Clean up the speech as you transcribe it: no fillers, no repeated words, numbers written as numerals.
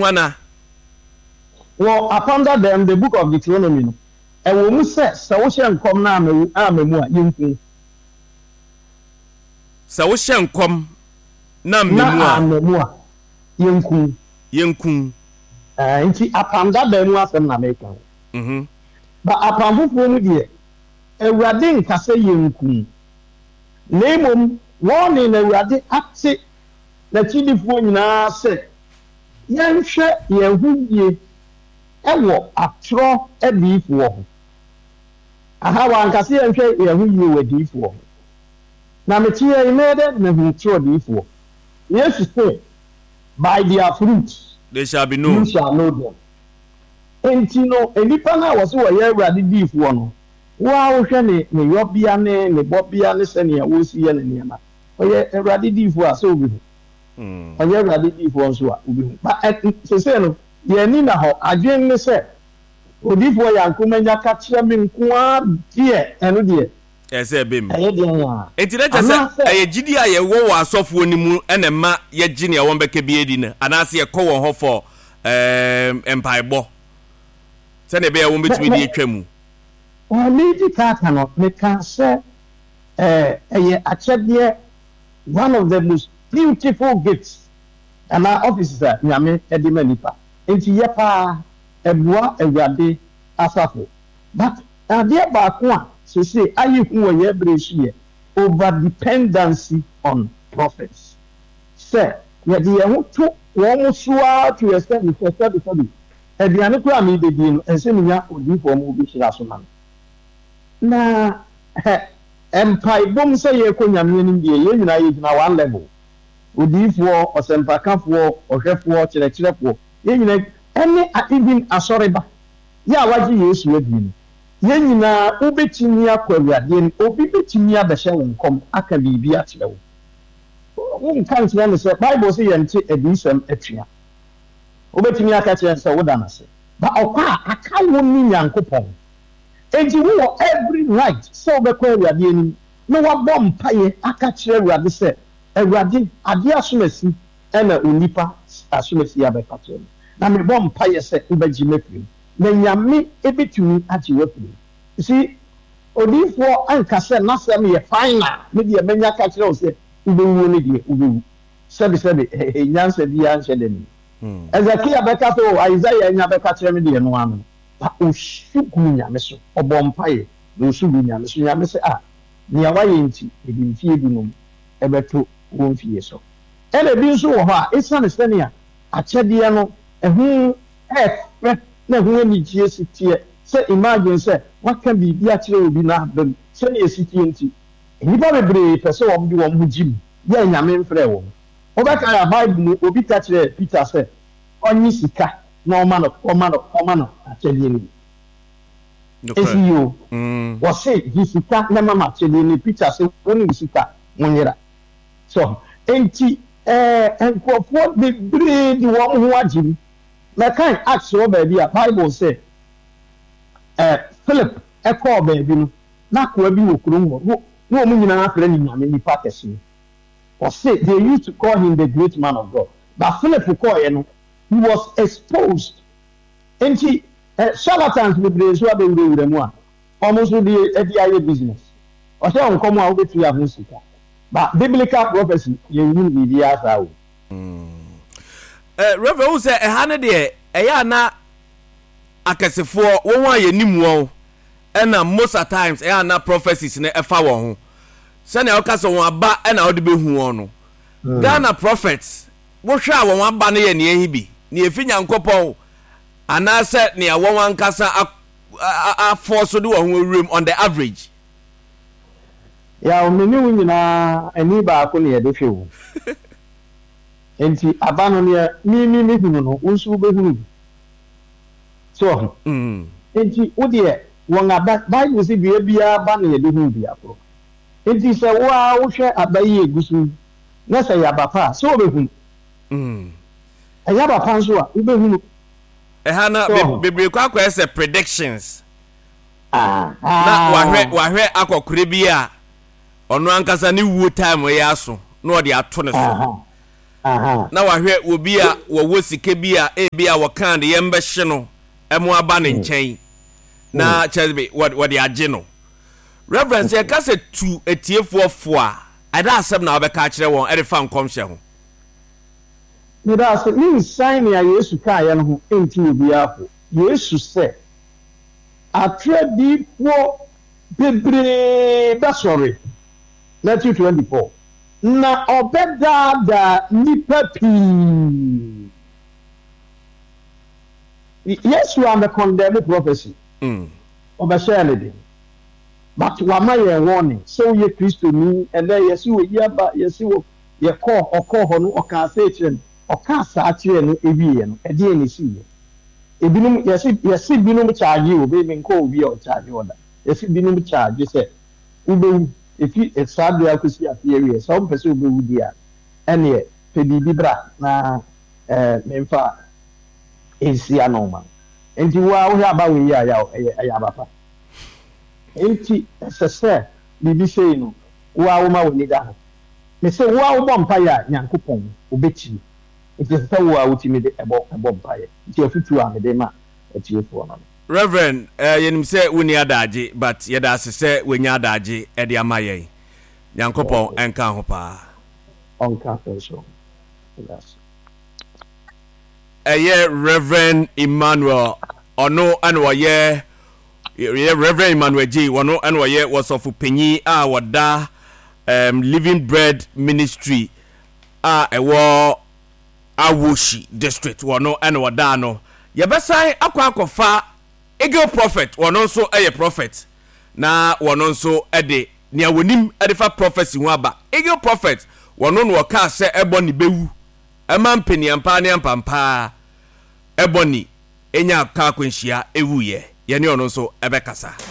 Hwana? Wɔ Apam Dada mu, The Book of Deuteronomy no, ɛwɔ mu sɛ, sɛ wohyɛ nkɔm na amma mu a, yenku wo. Sɛ wohyɛ nkɔm na amma mu a. Na amma mu a, yenku wo. Yenku wo. Ɛɛ, nti Apam Dada mu asɛm na meka o. But Apam Foforɔ mu deɛ, Awurade nka sɛ yenku wo. Na mmom, warning na Awurade ate N'akyidifoɔ nyinaa sɛ yɛnhwɛ yɛn ho yie wɔ atorɔ adiyifoɔ ho. Aha, wanka sɛ yɛnhwɛ yɛn ho yie wɔ adiyifoɔ ho. Na mete ha yi, mɛyɛ dɛn na mahu torɔ diyifoɔ? Yesu se, By their fruits They shall be you known. shall know them. Enti no, nnipa no a wɔse wɔyɛ Awurade diyifoɔ no, wo ara wohwɛ ne ne yɔbea ne ne bɔbea ne sɛnea ɔsi yɛ ne nneɛma. Ɔyɛ Awurade diyifoɔ a, sɛ wobɛhu. Ɔnyɛ Awurade diyifoɔ nso a, wobɛhu. But ɛ, seesei no, yɛn ani nna hɔ. Adwene ne sɛ, Odiyifoɔ Yanko manya ka kyerɛ me nko ara deɛ, ɛno deɛ, Ɛsɛ sɛ ɛba mu. ɛyɛ deɛn a? Enti na kyerɛ sɛ Anaasɛ. ɛyɛ gyidie a yɛwɔ wɔ asɔfoɔ no mu na ɛma yɛgye nea wɔbɛka biara di no, anaasɛ yɛkɔ wɔn hɔ for ɛɛm, mpaebɔ sɛdeɛ ɛbɛyɛ a Mɛ, wɔbɛtumi mɛ, de atwa mu. ɛ, meredi kan aka no, mekaa sɛ, ɛ, ɛyɛ akyɛdeɛ, one of the most beautiful gifts anaa offices a Nyame de ma nipa. Enti yɛ paa, ɛboa Awurade asafo. But adeɛ baako a seesei ayɛ hu wɔ yɛn berɛ yi so yɛ over dependency on prophets. Sɛ yɛde yɛn ho to wɔn so ara to extent sɛ sɛbi sɛbi aduane koraa a merebɛdie no ɛnsɛ menya odiyifoɔ ma ɔbɛhyira so ma me. Na hɛ mpaebɔ mu sɛ yɛrekɔ Nyame anim deɛ yɛn nyinaa yɛgyina one level. Odiyifoɔ, ɔsɛmpakafoɔ, ɔhwɛfoɔ, kyerɛkyerɛfoɔ, yɛn nyinaa ɛne even asɔreba. Yɛ a wagye Yesu adi no, yɛn nyinaa wobɛtumi akɔ Awurade anim. Obi bɛtumi abɛhyɛ wo nkɔm aka biribi akyerɛ wo. Wonka nkyerɛ no sɛ, Bible se yɛnte adiyisɛm atua. Wobɛtumi aka kyerɛ no sɛ woda no ase. But ɔkɔ a, aka wo ne Nyankopɔn. Enti wowɔ every right sɛ wobɛkɔ Awurade anim na woabɔ mpaeɛ aka akyerɛ Awurade sɛ, Awurade, adeɛ asomasi na onipa asomasi abɛka kyerɛ me, na mebɔ mpaeɛ sɛ wobɛgye me afiri mu. Na Nyame bɛtumi agye wo afiri mu. You see, odiyifoɔ anka sɛ n'asɛm yɛ final, me deɛ manya ka kyerɛ wo sɛ wobɛwuo no deɛ, wobɛwu. Sɛbesɛbe, nyansa biara nhyɛ da nni mu. Hezekia bɛka sɛ, oh, Isaiah anya bɛka kyerɛ me deɛ, ɛno ara no. Na ɔsu guu Nyame so, ɔbɔɔ mpaeɛ, na ɔsu guu Nyame so. Nyame sɛ, Ah, nea woayɛ nti, mede mfie dunum bɛto wo mfie so. Ɛna ebi nso wɔ hɔ a, esiane sɛnea akyɛdeɛ no ɛho yɛ fɛ na ɛho anigyeɛ si teɛ, sɛ imagine sɛ woaka biribi akyerɛ obi na aba mu, sɛnea ɛsi teɛ nti, nnipa bebree pɛ sɛ wɔde wɔn ho gye mu yɛ anyame mfrɛɛ wɔn. Wobɛkae a, Bible mu obi ka kyerɛɛ Peter sɛ ɔnnye sika na ɔma no ɔma no ɔma no akyɛdeɛ no bi. Nokorɛ. Ɛsi yi o, wɔse gye sika na ma me akyɛdeɛ no bi. Peter se wo ne wo sika monyera. So enti ɛɛ nkurɔfoɔ bebree de wɔn ho agye mu. Mɛkan Acts wɔ baabi a Bible sɛ ɛɛ Philip kɔɔ baabi no, na akoa bi wɔ kurom hɔ, na wɔn nyinaa frɛ no Nyame nipa kɛseɛ. Wɔse they used to call him the great man of God. But Philip kɔɔeɛ no, he was exposed. Enti eh, charlatans bebree nso abɛwurawura mu a wɔn nso de de ayɛ business. Ɔhyɛ wo nkɔm a wobɛtua ho sika. But biblical prophecy yɛnhunu biribiara saa wɔ mu. Eh, Reverend, wohu sɛ ɛha no deɛ ɛyɛ a na akɛsefoɔ wɔn a yɛnim wɔn ɛna most at times ɛyɛ a na prophecies no ɛfa wɔn ho sɛnea woka sɛ wɔn aba ɛna wode bɛhu wɔn no Ghana prophets wohwɛ a wɔn aba no yɛ nea ɛhe bi nea ɛfi Nyankopɔn anaasɛ nea wɔn ankasa afɔ so de wɔn ho awuram on the average. Yaw, me ne wo nyinaa ani baako na yɛde hwɛ o. Enti aba no nea me me mehunu no, wo nso wobɛhunu bi. So wahu? Enti wo deɛ, wɔn aba, Bible se dua biara ba na yɛde hunu dua korɔ. Enti sɛ wo ara wohwɛ aba yi a ɛgu so yi, na sɛ ɛyɛ aba pa a, sɛ wobɛhunu. Ɛnyɛ aba pa nso a, wobɛhunu. Ɛha no, So wahu? bebree kɔ akɔyɛ sɛ predictions. Na wahwɛ wahwɛ akɔkora bi a ɔno ankasa ne wuo time yɛ aso na ɔde ato ne so. Na wahwɛ obi a wɔwɔ sika bi a ebi a wɔkaa de yɛn bɛhye no ɛmo aba ne nkyɛn na kyerɛ bi wɔde agye no. Reverend, sɛ yɛka sɛ tu atiefoɔ fo a, ɛda asɛm na wobɛka akyerɛ wɔn ɛde fa nkɔmhyɛ ho? Meda ase. Mensan nea Yesu kaeɛ no ho ntu obiara fo. Yesu sɛ, Atorɔ adiyifoɔ bebree bɛsɔre, Matthew 24, na ɔbɛdaadaa nnipa pii. Yesu ammɛkɔndɛme prophecy, ɔbɛhyɛɛ no den. But wama yɛn warning, sɛ woyɛ Kristoni, ɛnnɛ yɛse oyi aba, yɛse wɔ, yɛkɔɔ, ɔkɔɔ hɔ no ɔkaa sei kyerɛɛ no, ɔkaa saa kyerɛɛ no wieɛ no, ɛdeɛn na ɛsiiɛ? Ebinom, yɛse, yɛse binom charge o, me menkɔɔ obi a ɔcharge hɔ da, yɛse binom charge sɛ wobɛwu, ɛfi saa berɛ akɔsi afe awieɛ, sɛ wompɛ sɛ wobɛwu deɛ a, ɛneɛ pɛ biribi bra na eh, memfa nsi ano ma no. Enti wo ara wohwɛ aba wei yi a, yaw, ɛyɛ, ɛyɛ aba pa. Enti ɛsɛ sɛ biribi sei no, wo ara woma w'ani da hɔ. Mese wo ara wobɔ mpaeɛ a, Nyankopɔn, ɔbɛtie. Enti ɛsɛ sɛ wo ara wotumi de bɔ bɔ mpaeɛ. Nti afotuo a mede ma atiefoɔ no no. Rev. Eh, yɛnim sɛ wonni adaagye but yɛda ase sɛ wanya adaagye de ama yɛn. Nyankopɔn nka ho paa. Ɔnka nso ho. Yɛda ase. Ɛyɛ Rev. Emmanuel, ɔno na ɔyɛ yɛ Rev. Emmanuel Gyei, ɔno na ɔyɛ wɔsɔfo panyin a ɔda um, Living Bread Ministry a ɛwɔ Awoshi District, ɔno na ɔda ano. Yɛbɛsan akɔ akɔfa Eagle Prophet, ɔno nso yɛ prophet, na ɔno nso de nea wɔnim de fa prophecy ho aba. Eagle Prophet, ɔno na ɔkaa sɛ ɛbɔ ne bɛwu ɛma mpaniampaa ne ampampaa ɛbɔ ne nya kaa akwanhyia ɛwuiɛ. Yɛne ɔno nso ɛbɛkasa.